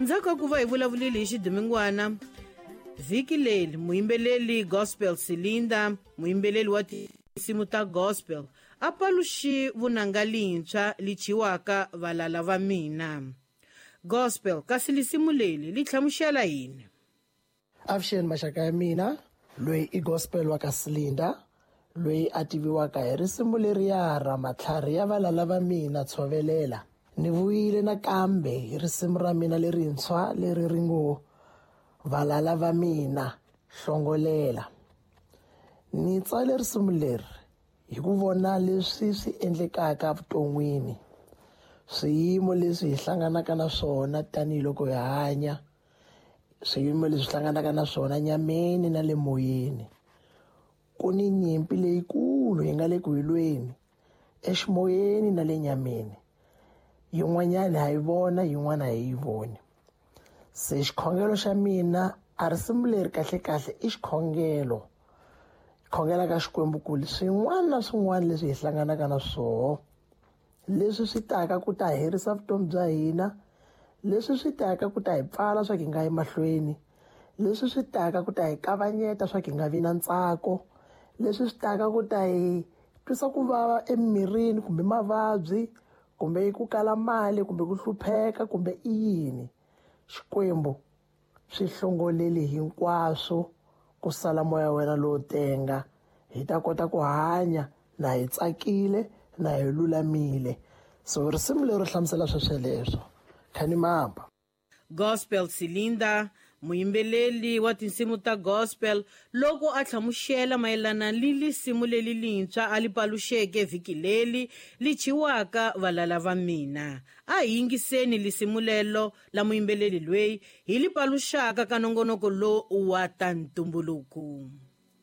Ndzhaku ka ku va hi vulavulile hi xidumingwana vhiki leri, muyimbeleli Gospel Silinda, muyimbeleli wa tinsimu ta gospel, a paluxi vunanga lintshwa li chiwaka Valala Va Mina. Gospel, kasi lisimu leri li hlamusela yini? Avuxeni maxaka ya mina, loyi i Gospel wa ka Silinda, loyi a tiviwaka hi risimu leriya ra Matlhari ya Valala Va Mina Tshovelela. Ni vuyile nakambe hi risimu ra mina lerintshwa leri ri ngo Valala Va Mina Hlongolela. Ni tsale risimu leri hi ku vona leswi swi endlekaka evuton'wini, swiyimo leswi hi hlanganaka na swona tanihiloko hi hanya, swiyimo leswi hlanganaka na swona nyameni na le moyeni. Ku ni nyimpi leyikulu hi nga le ku lweni eximoyeni na le nyameni. Yin'wanyana ha yi vona, yin'wana hi yi voni. Se xikhongelo xa mina, a risimu leri kahlekahle i xikhongelo, khongela ka Xikwembu ku swin'wana na swin'wana leswi hi hlanganaka na swoho, leswi swi taka ku ta herisa vutomi bya hina, leswi swi taka ku ta hi pfala swa ku hi nga yi mahlweni, leswi swi taka ku ta hi kavanyeta swa ku hi nga vi na ntsako, leswi swi taka ku ta hi twisa ku vava emirini kumbe mavabyi kumbe ku kala mali kumbe ku hlupheka kumbe i yini, Xikwembu swi hlongolele hinkwaswo ku sala moya wena lowo tenga, hi ta kota ku hanya na hi tsakile na hi lulamile. So risimu leri hlamusela swesweleswo. Khanimamba. Gospel Silinda, muyimbeleli wa tinsimu ta gospel, loko a hlamusela mayelana ni lisimu leri lintshwa a li paluxeke vhiki leri li chiwaka Valala Va Mina. A hi yingiseni lisimu lelo la muyimbeleli loyi hi li paluxaka ka nongonoko lowu wa ta ntumbuluko.